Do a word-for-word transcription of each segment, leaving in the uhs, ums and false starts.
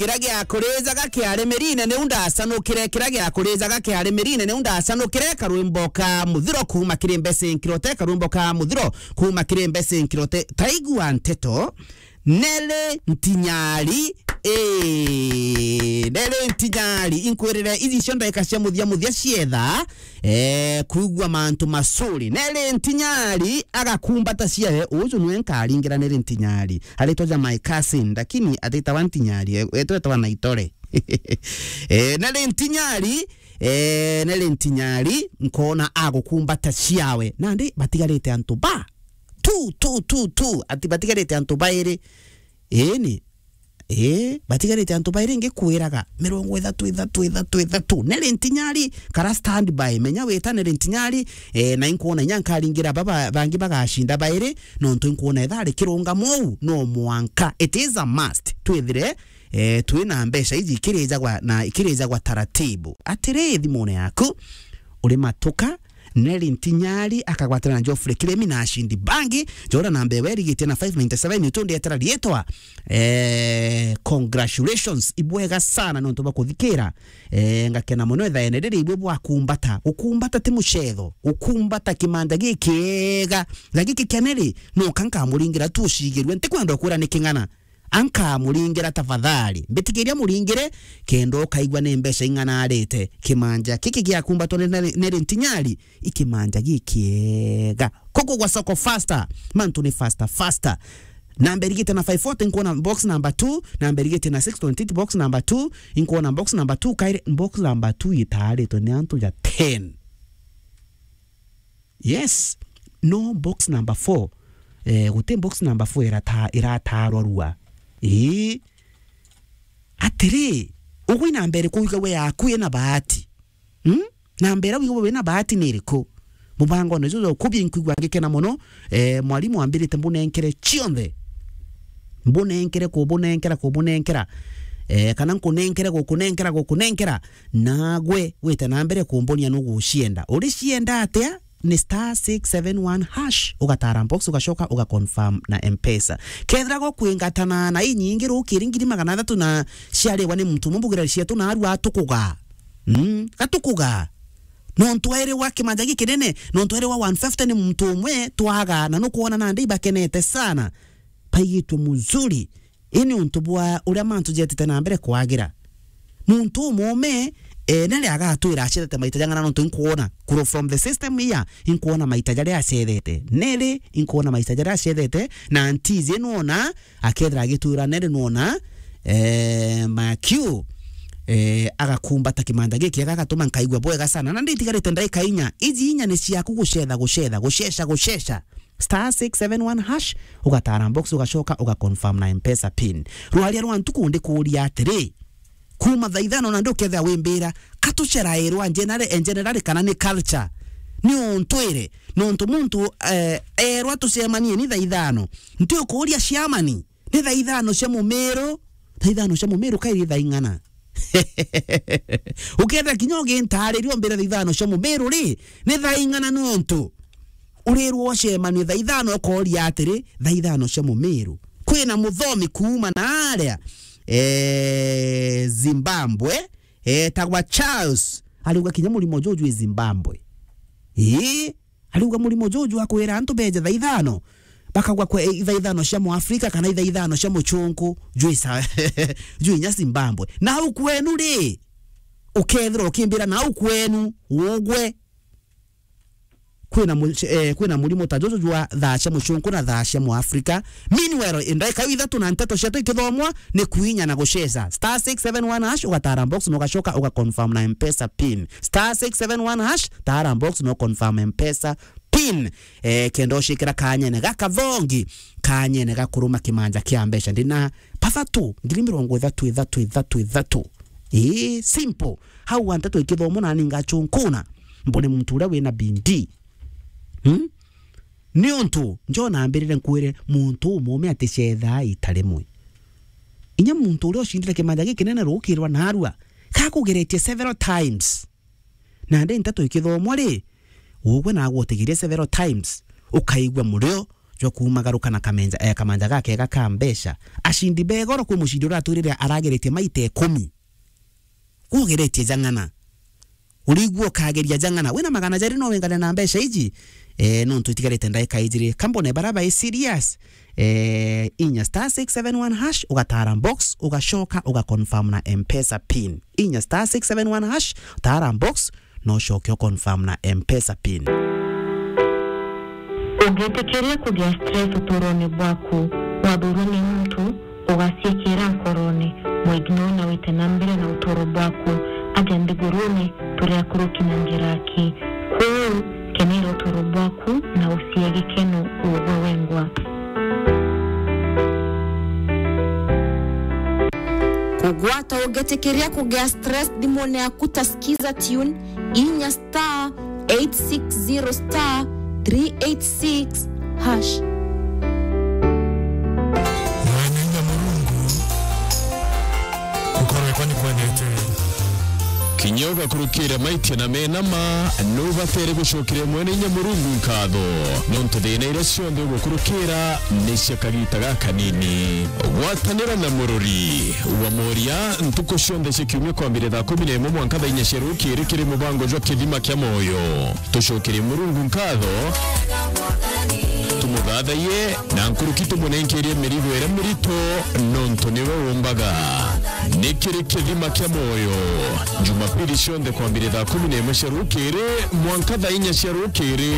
Kiria gia kurijaga kiari mirine niu ndacanukire, kiria gia kurijaga kiari mirine niu ndacanukire, karwimbo ka muthiro kuuma kiri Mbese Nkirote, karwimbo ka muthiro kuuma kiri Mbese Nkirote. Taigua nteto, Nelly Ntinyari, ee, Nelly Ntinyari, inkwirire, ici icio ndaika cia muthia muthia cietha, ee, kwigua mantu masuri. Nelly Ntinyari agakumbata ciawe, uju nwe nkaringira Nelly Ntinyari. Aritwa ja my cousin, lakini atitawa Ntinyari, e-, etwetwa Naitore. Eh, Nelly Ntinyari, eh, Nelly Ntinyari, nkona agukumbata ciawe. Nandi batigarite antu ba tu, tu, tu, tu. Ati batigarite antu bairi. Ii ni. Ii, batigarite antu bairi ngikwiraga mirongo ithatu, ithatu, ithatu, ithatu. Nelly Ntinyari, kara standby. Menya wita Nelly Ntinyari, eh, na inkwona inya nkaringira baba bangi bagacinda bairi, nontu inkwona ethari kirungamo uu, no mwanka. It is a must. Twithire eh, twina mbeca iji ikirijagwa na ikirijagwa taratibu. Atiri, thimune yaku, uri matuka, Nelly Ntinyari akagwatana na Geoffrey Kiremi na acindi bangi. Jora namba ewe irigitie na five ninety-seven, utu ndietera rietwa. Eh, congratulations, ibwega sana nontu bwa kuthikira. Eh, ngakena muno ithaene riri ibwe bwakumbata. Gukumbata ti mucetho. Gukumbata kimanja gikiega. Na giki kia Nelly, no kankamuringira tu ucigirue. Ntikwenda ukwira ni king'ana. Ankamuringira tafadhali. Mbitikiria muringire, kenda ukaigua ni mbeca ing'ana arite. Kimanja kiki giakumbatwa ni Nelly, Nelly Ntinyari, i kimanja gikiega. Kuku gwa soko faster. Mantu ni faster, faster. Namba irigite na five forty, nkuona box number two. Namba irigite na six twenty-eight, box number two. Inkuona box number two, kairi box number two itaritwe ni antu ja ten. Yes. No box number four. Eh, guti box number four irata-, iratarwa rua. Ii. Atiri, ugwe namba iriku wiga we yaku ina bahati? Hmm? Namba iria wiga we wina bahati ni iriku? Mubangone juju jwa ukubi nkwigua ngikena muno. Eh, mwarimu ambirite mbunenkere cionthe. Mbunenkere kubunenkera, kubunenkera. Eh, kana nkunenkere gukunenkera, gukunenkera. Nagwe wite na mbere kumbonia nugucienda. Uricienda atia? Ni star six seven one hash, ugatara box, ugacoka ugaconfirm na M-Pesa. Kethira gukwingatana na inyingi rukiri ngiri magana athatu na ciariwa ni muntu umwe, mbugira cietu narua tukuga. Mm, gatukuga. Nontu eri wa kimanja gikinene, nontu eri wa one fifty ni muntu umwe twaga, na nukwona nandi ibakenete sana. Baigitwe muzuri. Ii ni untu bwa uria mantu jetite na mbere kwagira. Muntu umuume, eh, nari agatwira acethete maita jang'ana nontu inkwona. Kuro from the system here, inkwona maita jaria acethete. Neri, inkwona maita jaria acethete, na ntizi nwona, akethira agitwira neri nwona, eh, Makiu, eh, agakumbata kimanda giki, agatuma nkaigua bwega sana. Na nditigarite ndaika inya. Iji inya ni ciaku gucetha, gucetha, gucesha, gucesha. Star six seven one hash, ugatara box, ugacoka ugaconfirm na M-Pesa pin. Rwaria rwa ntuku ndikuuria atiri, kuma thaa ithano na ndi ukethira wimbira, katucerairwa general, eh, general kana ni culture? Ni untu iri, nontu muntu, eh, erwa tucemanie ni thaa ithano. Nti ukuuria ciamani, ni thaa ithano cia mumiru, thaa ithano cia mumiru kairi thaa ing'ana? Ukethira kinya ugintariria umbire thaa ithano cia mumiru ri, ni thaa ing'ana nontu urirwo ucemanie thaa ithano, ukooria atiri, thaa ithano cia mumiru. Kwina muthomi kuuma na aria, eh, Zimbabwe, etagwa Charles. Ariuga kinya murimo juju i Zimbabwe. Ii, ariuga murimo juju akwira antu beje thaa ithano, bakagwa kwe, eh, thaa ithano cia Muafrika kana thaa ithano cia muchunku, jwi sa-, jwi inya Zimbabwe. Na au kwenu ri, ukethirwa ukimbira na au kwenu, ugwe. Kwina mu-, eh, kwina murimo ta juju jwa thaa cia muchunku na thaa cia Muafrika. Meanwhile, i ndaika ithatu na nteto cietu ikithomwa, ni kuinya na gucesa. Star six seven one hash, ugatara box na ugacoka ugaconfirm na M-Pesa pin. Star six seven one hash, tara box na uconfirm M-Pesa pin. Eh, kenda ucikira kanyene gaka thongi, kanyene gakuruma kimanja kia mbeca. Ndina pathatu, ngiri mirongo ithatu, ithatu, ithatu, ithatu. Ii, simple. Hau wa nteto ikithomwa nani ngachunkuna. Mbone muntu uria wina bidii. Hmm? Niuntu, njo nambirire nkwire, muntu umuume aticethaa ita rimwe. Inya muntu uria ucindire kimanja gikinene rukirwa narua, gakugeretie several times. Nandi nteto ikithomwa ri, ugwe nagwe utigirie several times, ukaigua murio jwa kuumagaruka na kamenja, eh, kamanja gakega ka mbeca. Acindi ba igoro kwi mucindi uratwirire arageretie maita ikumi. Kwogeretie jang'ana. Urigua ukageria jang'ana. Wina magana jari no wingane na mbeca iji? Eh, nontu itigarite ndaika ijiri. Kambone bara bai serious. Eh, inya star six seven one hash, ugatara box, ugacoka ugaconfirm na M-Pesa pin. Inya star six seven one hash, tara box, no ucoke uconfirm na M-Pesa pin. Ungitikiria kugia stress uturone bwaku, wathurwa ni muntu, ugaciikira nkorone, mwignore na wite na mbere na uturo bwaku. Aja nthigurune, turi akuruki na njira aki. Kwou, kenera uturo bwaku na ucie gikeno ugwe wengwa. Kugwata ungitikiria kugia stress thimune yaku ta Skiza Tune, inya star eight six zero star three eight six hash. Mwene inya Murungu, gukorwe kwa ni kwendete. Kinya ugakurukira maitia na menama, nubatere gucokeria Mwene inya Murungu nkatho, nontu thina iria cionthe ugukurukira ni cia kagita gakanini. Gwatanira na murori wa Moria ntuku cionthe cia kiumia kwambire thaa kumi na imwe mwanka thaa inya cia rukiri kiri mubango jwa Kithima kia Moyo. Tucokerie Murungu nkatho, tumuthathaiye, na nkuruki tumunenkerie mirigo iria mirito, nontu niwe umbaga. Ni kiri Kithima kia Moyo, Jumapili cionthe kwambire thaa kumi na imwe cia rukiri mwanka thaa inya cia rukiri.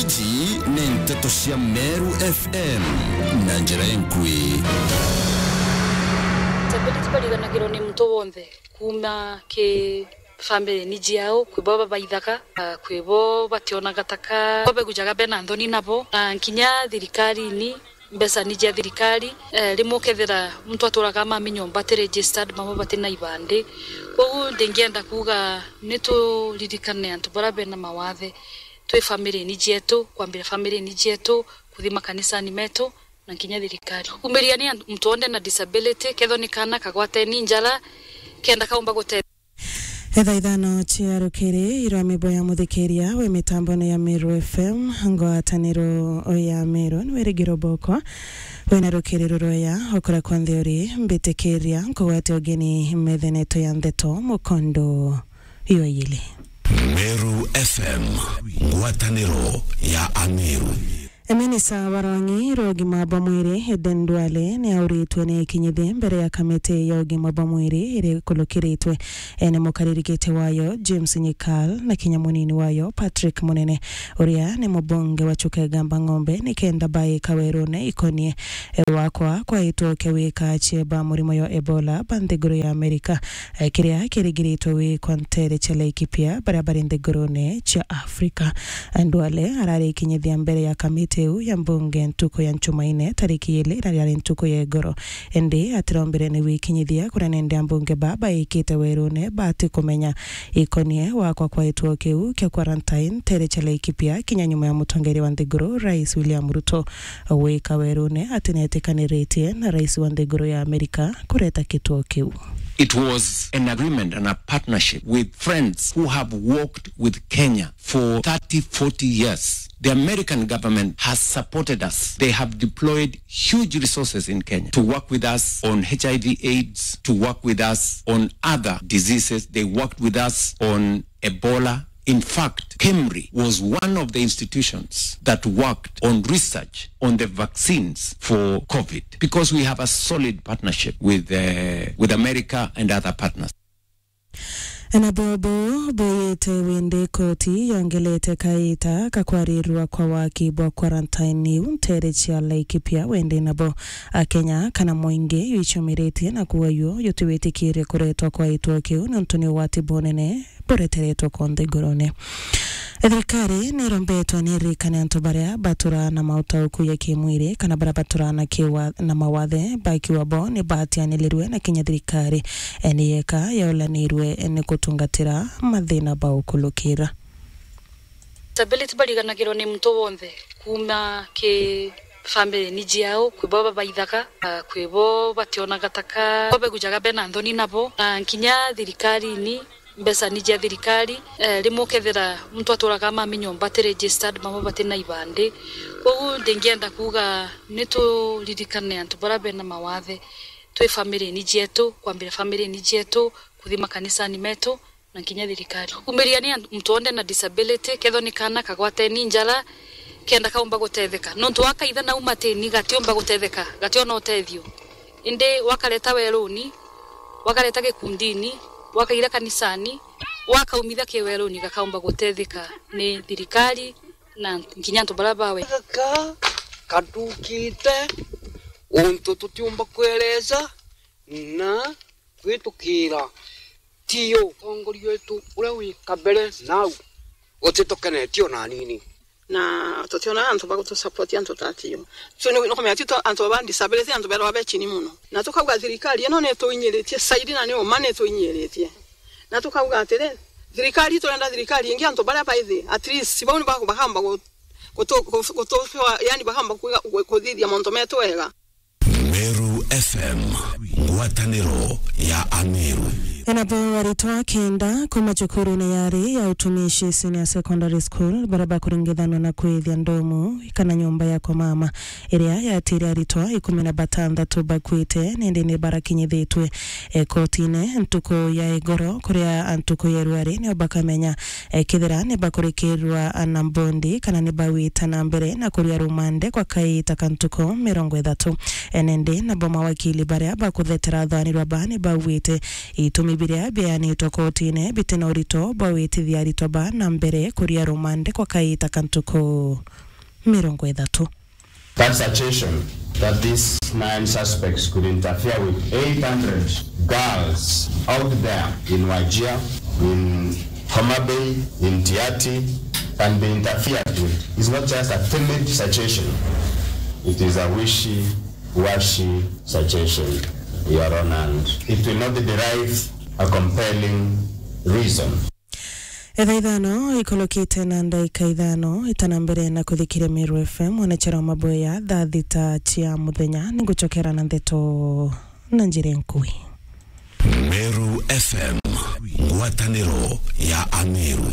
Iji ni nteto cia Meru F M na njira inkui. Stability bariganagirwo ni muntu wonthe, kuuma ki family ni jiao, kwi bo babaithaga, ah, kwi bo bationaga taka, bo begujaga bena nthoni nabo, na nkinya thirikarine, mbeca ni cia thirikari. Eh, rimwe ukethira muntu aturaga mami nyomba ati registered, mamwe bati na ibandi. Koguo ndingienda kuuga ni turirikane antu baria bena mawathe, twi family ni jietu, kwambira family ni jietu, kuthi makanisani metu, na nkinya thirikari. Umiria ni antu, muntu wonthe na disability, kethwa ni kaana kagwateni njara, kenda kaumba gute- Etha ithano cia rukiri, irwa mibo ya muthikiria wi mitambone ya Meru F M, ngwataniro ya Meru, ni wirigiro bokwa. Wina rukiri ruroya, ukura kwa nthi uri, mbitikiria, nkugwate ugeni metheneto ya ndeto, mukondo ywa yili. Meru F M, ngwataniro ya Ameru. Minista wa rwang'i rwa ugima bwa mwiri, Aden Duale, ni auritwe ni ikinyithie mbere ya kamiti ya ugima bwa mwiri iria ikulukiritwe ni mukariri giti wayo, James Nyikal, na kinya munini wayo, Patrick Munene, uria ni mubunge wa Chuka Igamba Ng'ombe, nikenda baika werune ikonie wakwa kwa itwoke wika cieba murimo ya Ebola ba nthiguru ya Amerika, eh, kiria kirigiritwe wikwa ntere cia Laikipia, baria bari nthigurune cia Afrika. Duale arari ikinyithia mbere ya kamiti iu ya mbunge ntuku ya Nchumaine, tariki ili, na riari ntuku ya igoro. Indi atirombire ni wikinyithia kuria nende ambunge ba baikite werune bati kumenya ikonie wakwa kwa itwo kiu kia quarantine ntere cia Laikipia, kinya nyuma ya mutongeria wa nthiguru, Rais William Ruto, wika werune ati nietikaniritie na rais wa nthiguru ya Amerika kureta gitwo kiu. It was an agreement and a partnership with friends who have worked with Kenya for thirty, forty years. The American government has supported us. They have deployed huge resources in Kenya to work with us on H I V AIDS, to work with us on other diseases. They worked with us on Ebola. In fact, KEMRI was one of the institutions that worked on research on the vaccines for COVID, because we have a solid partnership with, uh, with America and other partners. Na bobo buyite windi koti yongelete kaita ka kwarirwa kwa waki bwa quarantine iu ntere cia Laikipia, windi nabo Akenya kana mwingi yuicumiritie na kuuga yuo yutiwitikirie kuretwa kwa itwo kiu niuntu ni ugwati bunene bureteretwe kwa nthigurune. Thirikari nirombetwe ni iririkane antu baria baturaa na mautauku ya kimwiri kana baria baturaa na kiwa-, na mawathe bakiwa bo ni batianilirwe na kinya thirikari, eh, ni yeka yaulanirwe ni kutungatira mathina ba ukulukira. Stability bariganagirwo ni muntu wonthe, kuuma ki family ni jiao, kwi bo babaithaga, ah, kwi bo bationaga taka, bo begujaga bena nthoni nabo, na nkinya thirikarine, Mbeca ni cia thirikari, eh, rimwe ukethira muntu aturaga mami nyomba ati registered, mama bati na ibandi. Koguo ndingienda kuuga ni turirikane antu baria bena mawathe, twi family ni cietu, kwambira family ni cietu, kuthi makanisani metu, na nkinya thirikari. Kumiria ni antu, muntu wonthe na disability, kethwa ni kaana kagwateni njara, kenda kaumba gutetheka. Nontu wakaitha na umatini, gatiumba gutetheka, gationa utethio. Indi wakareta weruni, wakareta gikundini, wakaira kanisani, wakaumithia ki weruni, gakaumba gutetheka ni thirikari na nkinya antu baria bawe. Gaka kadukite untu tutiumba kwereza na kwitukira. Tio, utongoria wetu uria wi kabere nau utitukenetie ona anini. Na tutiona antu ba gutusupport antu ta tio. So ni, ni kumenya tito antu ba disability, antu berwa be chini muno. Na tukauga thirikari ino ni tuinyiritie, saidi na ni uma ni tuinyiritie. Na tukauga atiri, thirikari, turenda thirikari ingi, antu baria baithi, at least, bau ni ba-, bakamba gu-, gutu-, gu-, gutu-, yani bakamba kuiga-, gu-, kuthithia mauntu metu wega. Meru F M, ngwataniro ya Ameru. Enabo aritwa kenda kuma cukurune yari ya utumishi Senior Secondary School, baria bakuringithanwa na kwithia ndomu kana nyomba ya kwa mama, iria yatire aritwa ikumi na batantatu bakuite, nindi ni barakinyithitwe, eh, kotine ntuku ya igoro, kuria ntuku ya rwari nio bakamenya, eh, kethira ni bakurikirwa na mbondi kana ni bawita na mbere na kuria rumande kwa kaita ka ntuku mirongo ithatu. Eh, nindi nabo mawakili baria bakuthetera athwanirwa ba ni bauite itumi biria bianitwe kotine biti na urito bwa witithia aritwa ba na mbere kuria rumande kwa kaita ka ntuku mirongo ithatu. That suggestion that these nine suspects could interfere with eight hundred girls out there in Wajir, in Homa Bay, in Tiaty, can be interfered with is not just a timid suggestion. It is a wishy-washy suggestion, Your Honor, and it will not derive a compelling reason. Etha ithano ikolokite na ndaika ithano itana mbere na kuthikiria Meru F M, mwanachara wa maboya, thaa thita cia muthenya, ningucokera na ndeto na njira nkui. Meru F M, ngwataniro ya Ameru.